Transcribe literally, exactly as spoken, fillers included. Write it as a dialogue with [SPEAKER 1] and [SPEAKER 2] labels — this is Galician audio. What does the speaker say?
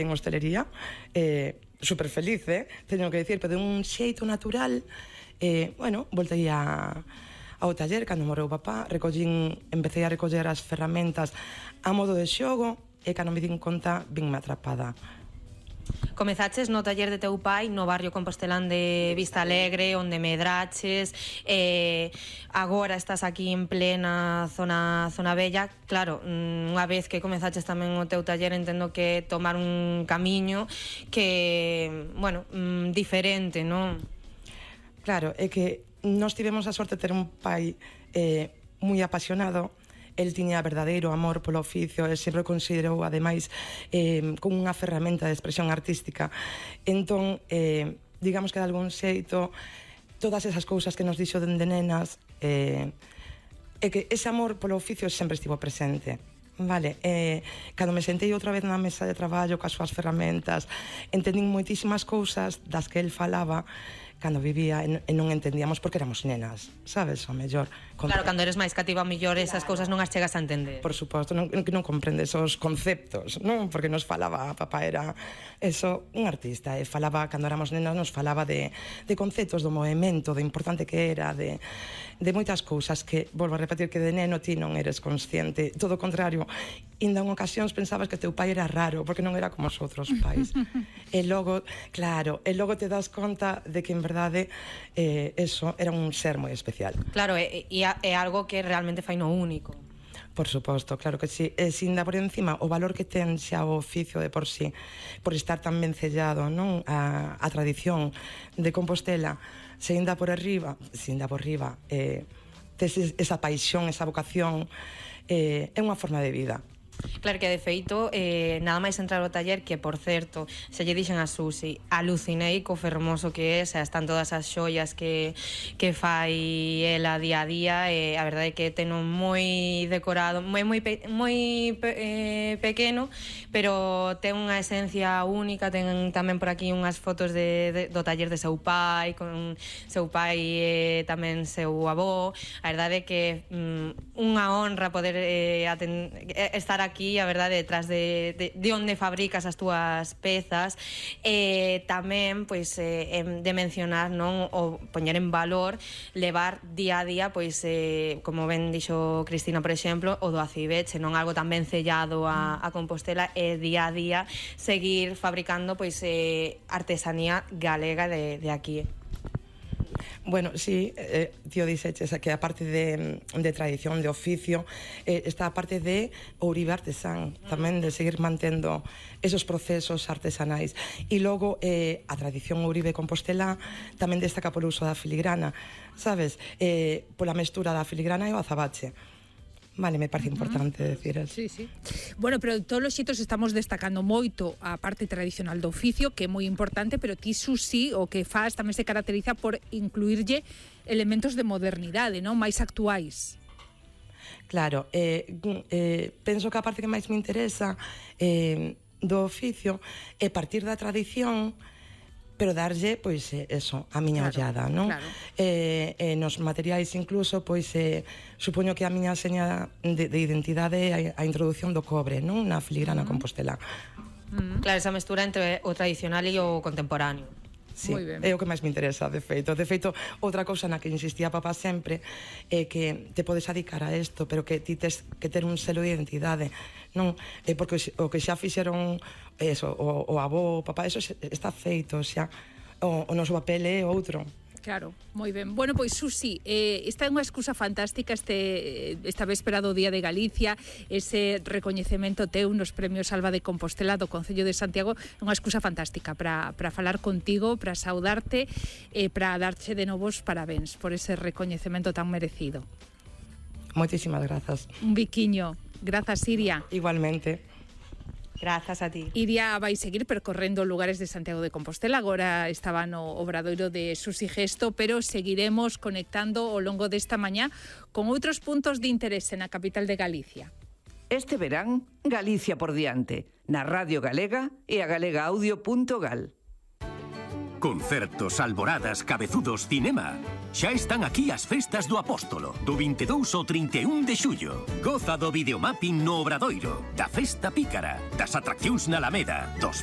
[SPEAKER 1] en hostelería, eh, super feliz, eh, teño que dicir, pero de un xeito natural, eh, bueno, voltei a, ao taller cando morreu papá, recollín, empecé a recoller as ferramentas a modo de xogo, e cando me din conta, vinme atrapada.
[SPEAKER 2] Comezaches no taller de teu pai no barrio compostelán de Vista Alegre, onde medraches, eh, agora estás aquí en plena zona zona bella. Claro, unha vez que comezaches tamén o teu taller, entendo que tomar un camiño que, bueno, diferente, non?
[SPEAKER 1] Claro, é que nós tivemos a sorte de ter un pai eh, moi apasionado. El tiña verdadeiro amor polo oficio e sempre o considerou, ademais, eh, como unha ferramenta de expresión artística. Entón, eh, digamos que de algún xeito, todas esas cousas que nos dixo dende nenas, eh, é que ese amor polo oficio sempre estivo presente. Vale, eh, cando me sentei outra vez na mesa de traballo coas súas ferramentas, entendín moitísimas cousas das que el falaba cando vivía e non entendíamos porque éramos nenas, sabes, o mellor.
[SPEAKER 2] Claro, cando eres máis cativa, o mellor esas cousas non as chegas a entender.
[SPEAKER 1] Por suposto, non, non comprendes os conceptos, non? Porque nos falaba, papá era eso, un artista, e falaba, cando éramos nenas, nos falaba de, de conceptos do movimento, de importante que era, de, de moitas cousas que, volvo a repetir, que de neno ti non eres consciente, todo o contrario, ainda en ocasións pensabas que teu pai era raro, porque non era como os outros pais. E logo, claro, e logo te das conta de que en verdade eh, eso era un ser moi especial.
[SPEAKER 2] Claro, e, e, é algo que realmente fai no único.
[SPEAKER 1] Por suposto, claro que sí. E sin dar por encima o valor que ten xa o oficio de por sí, por estar tan vencellado, non, a, a tradición de Compostela, se ainda por arriba, se ainda por arriba, eh, tes esa paixón, esa vocación, eh, é unha forma de vida.
[SPEAKER 2] Claro que de feito, eh, nada máis entrar ao taller, que por certo, se lle dixen a Susi, alucinei co fermoso que é, xa están todas as xoias que, que fai ela día a día, e a verdade é que ten un moi decorado, moi moi, pe, moi pe, eh, pequeno, pero ten unha esencia única. Ten tamén por aquí unhas fotos de, de, do taller de seu pai, con seu pai e eh, tamén seu avó. A verdade é que mm, unha honra poder eh, aten, estar aquí, a verdade, detrás de, de, de onde fabricas as túas pezas. E tamén, pois, eh, de mencionar, non, o poñer en valor, levar día a día, pois, eh, como ben dixo Cristina, por exemplo, o do acibeche, non algo tan ben sellado a, a Compostela, e día a día seguir fabricando, pois, eh, artesanía galega de, de aquí.
[SPEAKER 1] Bueno, sí, eh, tío dixeches que a parte de, de tradición, de oficio, eh, está a parte de Ouribe Artesán, tamén de seguir mantendo esos procesos artesanais. E logo, eh, a tradición Ouribe Compostela tamén destaca polo uso da filigrana, sabes? Eh, pola mestura da filigrana e o azabache. Vale, me parece importante uh -huh. decir eso.
[SPEAKER 3] Sí, sí. Bueno, pero todos os xitos estamos destacando moito a parte tradicional do oficio, que é moi importante, pero ti, Susi, o que faz tamén se caracteriza por incluirlle elementos de modernidade, non? Mais actuais.
[SPEAKER 1] Claro, eh, eh, penso que a parte que máis me interesa eh, do oficio é partir da tradición, pero darlle, pois, eso, a miña claro, ollada, non? Claro. Eh, eh, nos materiais incluso, pois, eh, supoño que a miña seña de, de identidade é a, a introducción do cobre, non? Na filigrana uh -huh. compostelá.
[SPEAKER 2] Uh -huh. Claro, esa mestura entre o tradicional e o contemporáneo.
[SPEAKER 1] Sí, é o que máis me interesa, de feito. De feito, outra cousa na que insistía papá sempre é que te podes adicar a isto, pero que ti tes que ter un selo de identidade, non? É porque o que xa fixeron eso, o, o avó, o papá, eso está feito, xa o, o noso papel é outro.
[SPEAKER 3] Claro, moi ben. Bueno, pois, Susi, eh, esta é unha excusa fantástica este, esta véspera do Día de Galicia, ese recoñecemento teu nos premios Alba de Compostela do Concello de Santiago, é unha excusa fantástica para falar contigo, para saudarte e para darche de novos parabéns por ese recoñecemento tan merecido.
[SPEAKER 1] Moitísimas grazas.
[SPEAKER 3] Un biquiño. Grazas, Iria.
[SPEAKER 1] Igualmente.
[SPEAKER 2] Grazas a ti.
[SPEAKER 3] Iria vai seguir percorrendo lugares de Santiago de Compostela. Agora estaba no obradoiro de Susi Gesto, pero seguiremos conectando ao longo desta mañá con outros puntos de interese na capital de Galicia.
[SPEAKER 4] Este verán, Galicia por diante, na Radio Galega e a galega audio punto gal.
[SPEAKER 5] Concertos, alboradas, cabezudos, cinema. Xa están aquí as festas do Apóstolo, do vinte e dous ao trinta e un de xullo. Goza do videomapping no Obradoiro, da Festa Pícara, das atraccións na Alameda, dos